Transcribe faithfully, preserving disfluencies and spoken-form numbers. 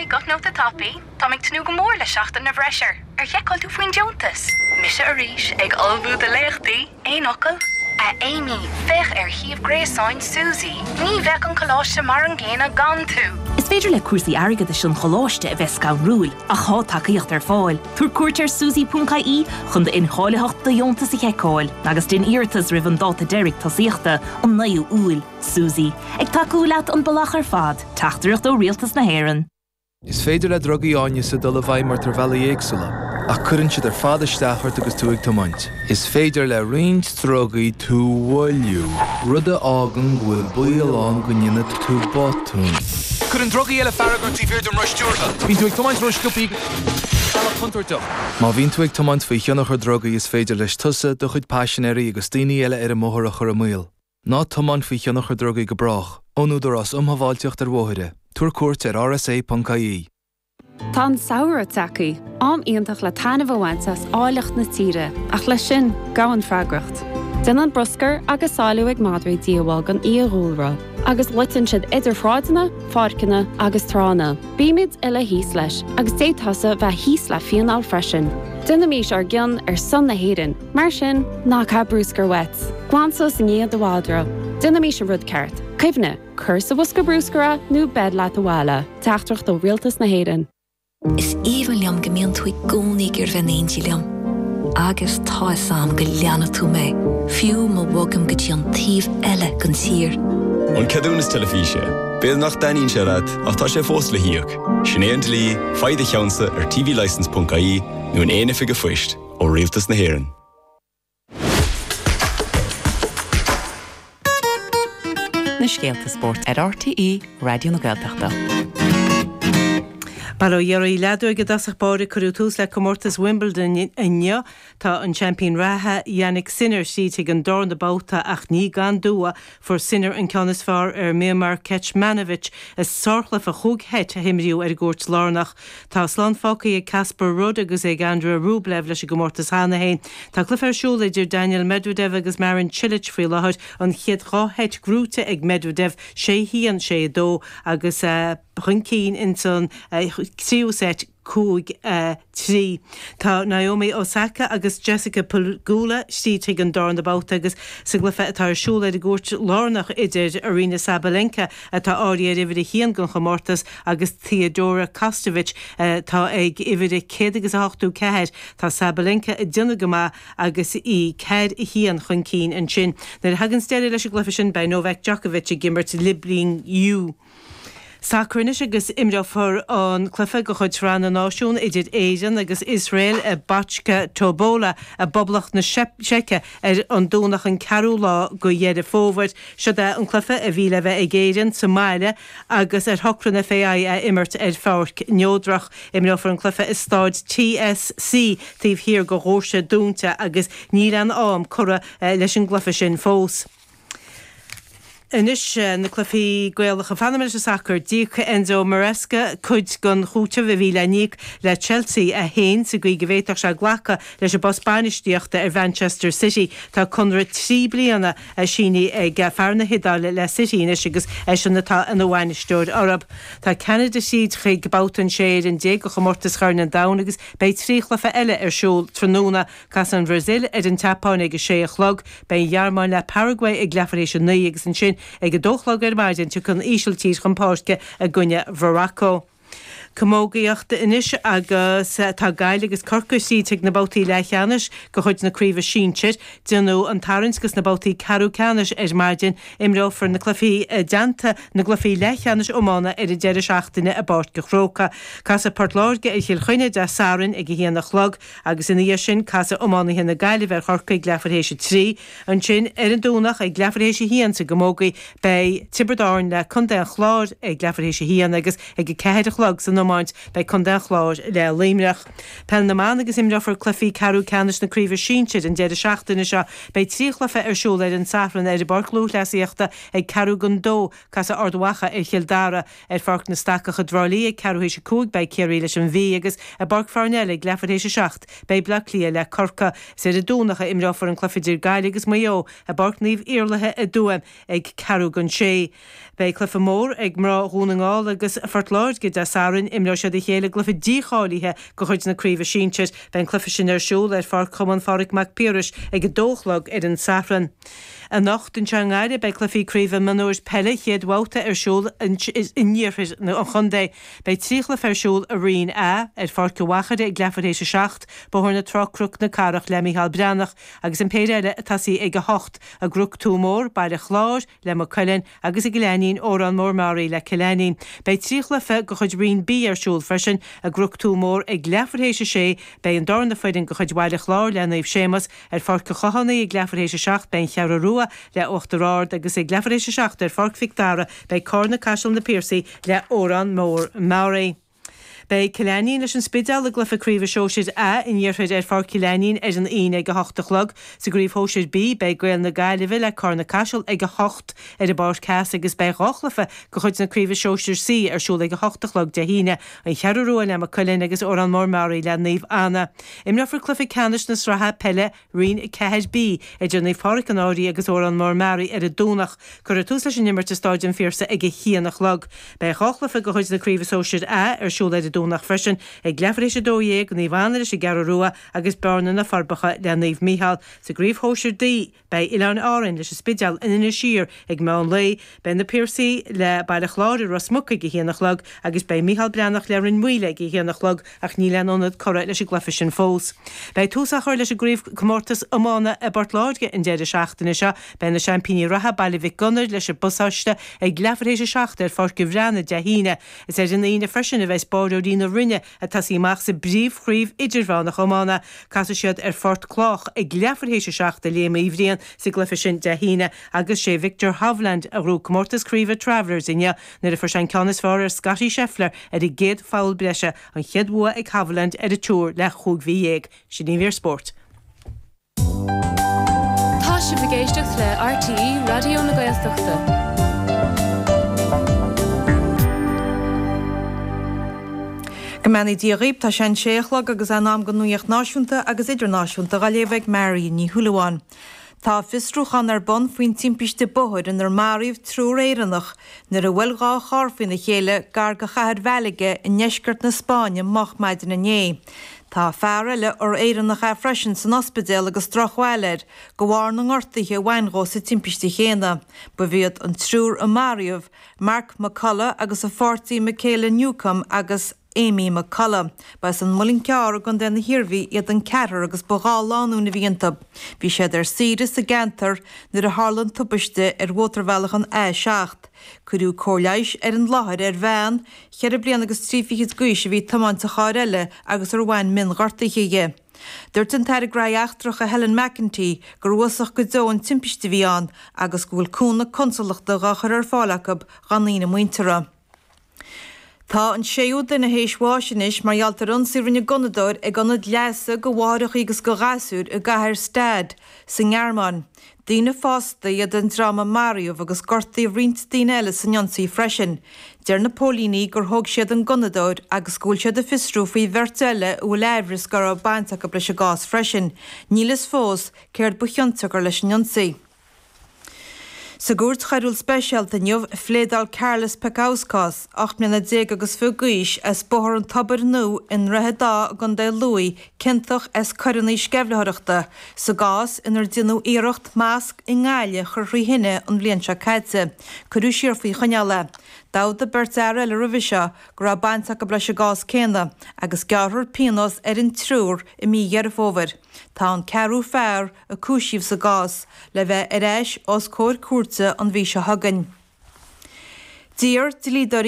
Guth nóta tapaidh, Táim ag tnúth go mór le seachtain na bhfreisear, ar sheiceáil tú faoin deontas. Mise arís ag ullmhú do léachtaí, aon fhocal? A Amy, féach ar shuíomh gréasáin Suzy, ní bheadh an coláiste mar an gcéanna gan tú. Is féidir le cúrsaí airgeadais an choláiste a bheith scanrúil ach tá tacaíocht ar fáil. Tabhair cuairt ar suzy.ie chun d'incháilitheacht do dheontas a sheiceáil, agus déan iarratas roimh an dáta deiridh tosaíochta an naoú Iúil. Suzy, ag tacú leat an bealach ar fad, teachtaireacht ó Rialtas na hÉireann. Is féidir le drugaí áineasa dul i bhfeidhm ort ar bhealaí éagsúla, ach cuireann siad ar fad isteach ort agus tú ag tiomáint. Is féidir le roinnt drugaí tú a mhoilliú, rud a fhágann go bhfuil baol ann go ndéanfaidh tú botún. Cuireann drugaí eile fearg ort taobh thiar den roth stiúrtha. Bíonn tú ag tiomáint ró-sciobtha bealach contúirteach. Má bhíonn tú ag tiomáint faoi thionchar drugaí is féidir leis tusa do chuid paisinéirí agus daoine eile ar an mbóthar a chur i mbaol. Ná tiomáin faoi thionchar drugaí go brách, ón Údarás um Shábháilteacht ar Bhóithre, Tabhair cuairt ar rsa.ie. Tá an samhradh tagtha, am iontach le taitneamh a bhaint as áilleacht na tíre, ach leis sin gabhann freagracht. Déanann bruscar agus sailiú ag madraí díobháil don fhiadhúlra, agus loiteann siad idir shráideanna, pháirceanna agus tránna. Bímid uile thíos leis, agus d'fhéadfá bheith thíos le fíneáil freisin. Déanaimis ár gcion ar son na hÉireann, mar sin ná caith bruscar uait. Glan suas i ndiaidh do mhadra. Déanaimis an rud ceart. Cuimhnigh, cuir sa bhosca bruscair é nó beir leat abhaile, Teachtaireacht ó Rialtas na hÉireann. Is aoibhinn liom go mbíonn tú i gcónaí ag iarraidh bheith in éindí liom. Agus tá fhios agam go leanfaidh tú mé, fiú má bhogaim go dtí an taobh eile den tír. An ceadúnas teilifíse, B'fhéidir nach dtaitníonn sé leat ach tá sé fós le híoc. Sin é an dlí, faigh do cheannsa ar tvlicence.ie nó in aon oifig phoist ó Rialtas na hÉireann. Na scéalta spóirt ar RTÉ Raidió na Gaeltachta. Bail ó Dhia oraibh leathuair i dtosach báire cuireadh tús le comórtas Wimbledon inniu tá an seaimpín reatha Jannik Sinner tríd chuig an darna babhta ach ní gan dua fuair Sinner an ceann is fearr ar Miomir Kecmanovic i sárchluiche cúig sheit a imríodh ar an gcúirt lárnach. Tá slán fágtha ag Casper Ruud agus ag Andrei Rublev leis an gcomórtas cheana féin. Tá cluiche ar siúl idir Daniil Medvedev agus Marin Cilic faoi láthair an chéad dhá sheit gnóthaithe ag Medvedev sé haon sé a dó agus uh, chun cinn in san tríú seit cúig trí. Tá Naomi Osaka agus Jessica Pegula tríd chuig an darna babhta agus sa gcluiche atá ar siúl ar an gcúirt lárnach idir Aryna Sabalenka atá áirithe ar uimhir a haon den chomórtas agus Theodora Kostovic tá ag uimhir a céad agus a hochtó ceathair tá Sabalenka ag déanamh go maith agus í ceathair a haon chun cinn ansin. Nuair a thagann deireadh leis an gcluiche sin beidh Novak Djokovic ag imirt le Bling Yu. Sacar anois agus imreofar an cluiche de chuid Sraith na Náisiún idir Éirinn agus Iosrael i Banská Topola i bPoblacht na Seice ar an Domhnach an ceathrú lá de Dheireadh Fómhair. Seo é an cluiche a bhí le bheith ag Éirinn sa mbaile agus ar shocraigh an FAI a imirt ar pháirc neodrach. Imreofar an cluiche i staid TSC taobh thiar de dhoirse dúnta agus níl aon am curtha leis an gcluiche sin fós. Anois na cluichí Gaelacha fanfaidh mé leis an sacar d'íoc Enzo Maresca cuid den chúiteamh a bhí le n-íoc le Chelsea a haon sa gcaoi go bhféadfadh sé glacadh leis an bpost bainistíochta ar Manchester City. Tá conradh trí bliana sínithe ag fear na hIodáile le City anois agus eisean atá ina bhainisteoir orthu. Tá Ceanada tríd chuig babhta an sé fhoireann déag de chomórtas Chorn an Domhain agus beidh trí chluiche eile ar siúl tráthnóna Casfaidh an Bhrasaíl ar an tSeapáin ag a sé a chlog, beidh an Ghearmáin le Paraguay ag leathuair théis a naoi agus ansin ag a dó a chlog ar maidin tiocfaidh an Ísiltír chun páirce i gcoinne Mhorocco. Camógaíocht anois agus tá Gaillimh agus Corcaigh tríd chuig na babhtaí leathcheannais de chuid na craoibhe sinsir, déanadh an tarraingt dos na babhtaí ceathrú ceannais ar maidin, imreofar na cluichí i dteannta na gcluichí leathcheannais iomána ar an deireadh seachtaine i bPáirc an Chrócaigh. Casfaidh Port Láirge ar Chill Chainnigh Dé Sathairn ag a haon a chlog agus ina dhiaidh sin casfaidh iománaithe na Gaillimhe ar Chorcaigh leathuair théis a trí. Ansin ar an Domhnach ag leathuair théis a haon sa gcamógaí beidh Tiobraid Árann le Contae an Chláir ag leathuair théis a haon agus ag a ceathair a chlog san iomáint beidh Contae an Chláir le Luimneach. Peil na mban agus imreofar cluichí ceathrú ceannais na craoibhe sinsir an deireadh seachtaine seo beidh trí chluiche ar siúl ar an Satharn ar an bPáirc Lúthchleasaíochta ag ceathrú don dó casfaidh Ard Mhacha ar Chill Dara ar Pháirc na Stacach i dTrá Lí ag ceathrú théis a cúig beidh Ciarraí leis an Mhí agus i bPáirc Pharnell ag leathuair théis a seacht beidh Bleá Cliath le Corcaigh. Is ar an Domhnach a imreofar an cluiche idir Gaillimh agus Maigh Eo i bPáirc Naomh Iarlaithe i dTuaim ag ceathrú don sé. Beidh cluiche mór ag mná Dhún na nGall agus Phort Láirge Dé Sathairn Ainnín, imreoidh siad a chéile i gcluiche dícháilithe de chuid na Craoibhe Sinsir. Beidh an cluiche sin ar siúl ar Pháirc Chumann Phádraig Mac Piarais ag a dó a chlog ar an Satharn. Anocht anseo i nGaillimh beidh cluichí craoibhe mionúir peile chéad bhabhta ar siúl in iarthar an chontae. Beidh trí chluiche ar siúl i Roinn A, ar Pháirc an Mhachaire ag leathuair théis a seacht, Bóthar na Trá Cnoc na Cathrach le Micheál Breathnach, agus an péire eile ag tosaí ag a hocht, i gCnoc Tuamór, Baile Chláir, le Maigh Cuilinn, agus i gCill Ainnín, Órán Mór Meáraí le Cill Ainnín. Beidh trí chluiche de chuid Roinn B ar siúl freisin, i gCnoc Tuamór ag leathuair théis a sé, beidh an darna foireann de chuid Bhaile Chláir le Naomh Séamus, Ar Pháirc an Chlochánaigh ag leathuair théis a seacht beidh an Cheathrú Rua le Uachtar Ard agus ag leathuair théis a seacht ar Pháirc Mhic Dara beidh Carna-Caiseal Na Piarsaigh le Órán Mór Meáraí. Beidh Cill Ainnín leis an Spidéal i gcluiche craoibhe Sóisir A an Iarthair ar Pháirc Chill Ainnín ar an Aoine ag a hocht a chlog. Sa gcraobh Shóisir B beidh Gaeil na Gaillimhe le Carna-Caiseal ag a hocht ar an bPáirc Theas agus beidh dhá chluiche de chuid na craoibhe Sóisir C ar siúl ag a hocht a chlog Dé hAoine, An Cheathrú Rua le Maigh Cuilinn agus Órán Mór Meáraí le Naomh Anna. Imreofar cluiche ceannais na sraithe peile Roinn a ceathair B idir Naomh Pádraig an Fhairche agus Órán Mór Meáraí ar an Domhnach. Cuirfear tús leis an imirt i Stáid an Phiarsaigh ag a haon a chlog. Beidh dhá chluiche de chuid na Craoibhe Sóisir A ar siúl ar an Domhnach freisin, ag leathuair théis a dó dhéag, Naomh Anna leis an gCeathrú Rua agus Bearna na Forbacha le Naomh Mícheál. Sa gCraobh Shóisir D, beidh Oileáin Árainn leis an Spidéal in Inis Oírr ag meán lae, beidh Na Piarsaigh le Baile Chláir i Ros Muc ag a haon a chlog agus beidh Micheál Breathnach le Rinn Mhaoile ag a haon a chlog ach níl aon ionad curtha leis an gcluiche sin fós. Beidh tús á chur leis an gcraobhchomórtas iomána i bPort Láirge an deireadh seachtaine seo. Beidh na seaimpíní reatha, Baile Mhic Gonair, leis an bPasáiste ag leathuair théis a seacht ar Pháirc an Bhreathnaigh Dé hAoine. Is ar an Aoine freisin a bheas báireoirí na Rinne ag tosaí amach sa bpríomhchraobh idirmheánach iomána. Casfaidh siad ar Phort Clách ag leathuair théis a seacht i Léim Uí Bhriain sa gcluiche sin Dé hAoine agus sé Viktor Hovland a ghnóthaigh comórtas craoibhe Travelers inniu nuair a fuair sé an ceann is fearr ar Scottie Scheffler ar an gcéad pholl breise, an chéad bhua ag Hovland ar an Tour le chúig mhí dhéag. Sin í an mhír spóirt. Tá sibh ag éisteacht le RTÉ Raidió na Gaeltachta. Go mbeannaí Dia dhaoibh, tá sé an sé a chlog agus é in am don nuacht náisiúnta agus idirnáisiúnta dhá léamh ag Mary Ní Shúilleabháin. Tá fiosrúchán ar bun faoin timpiste bóthair inar maraíodh triúr Éireannach nuair a bhuail dhá charr faoina chéile gar do chathair Mhalaga i ndeisceart na Spáinne moch maidin inné. Tá fear eile, ar Éireannach é freisin, san ospidéal agus drochbhail air de bharr na ngortuithe a bhain dhó sa timpiste chéanna. Ba iad an triúr a maraíodh, Mark McCullough agus a pháirtí Michaela Newcombe agus Amy McCullough. Ba as an Muileann Cearr i gContae na hIarmhí iad an ceathrar agus ba dhá lánúin a bhí iontu. Bhí siad ar saoire sa gceantar nuair a tharla an tubaiste ar mhótarbhealach an A seacht. Cuireadh cóir leighis ar an láthair ar bhean cheithre bliana agus trí fichid d'aois a bhí ag tiomáint an chairr eile agus ar bhain mionghortuithe di. Dúirt an tAire Gnóthaí Eachtracha Helen McEntee gur uafásach go deo an timpiste a bhí ann agus go bhfuil cúnamh consalachta dhá chur ar fáil acu dá ndaoine muinteartha. Tá an séú duine théis bháis anois mar gheall ar ionsaí a rinne gunnadóir ag ionad leigheasa do mháithreacha agus do ghasúir i gcathair Stade sa nGearmáin. Daoine fásta iad an dream a maraíodh agus gortaíodh roinnt daoine eile san ionsaí freisin. Deir na póilíní gur thóg siad an gunnadóir agus go bhfuil siad ag fiosrú faoi bheirt eile a bhfuil aimhreas go raibh baint acu leis an gcás freisin. Níl fhios fós céard ba chionsiocair leis an ionsaí. Sa gCúirt Choiriúil Speisialta inniu, phléadáil Karlis Pekauskas, ocht mbliana déag agus fiche d'aois, as Bóthar an Tobair Nua i nDroichead Átha i gContae Lú, ciontach as coireanna sceimhlitheoireachta sa gcás inar déanadh iarracht masc i nGaillimh a chur thrí thine an bhliain seo caite. Cuireadh siar faoi choinneáil é. D'admhaigh beirt fhear eile roimhe seo go raibh baint acu leis an gcás céanna agus gearrfar pionós ar an triúr i mí Dheireadh Fómhair. Tá an ceathrú fear a cúisíodh sa gcás le bheith ar ais os comhair cúirte an mhí seo chugainn. D'iarr dlíodóirí.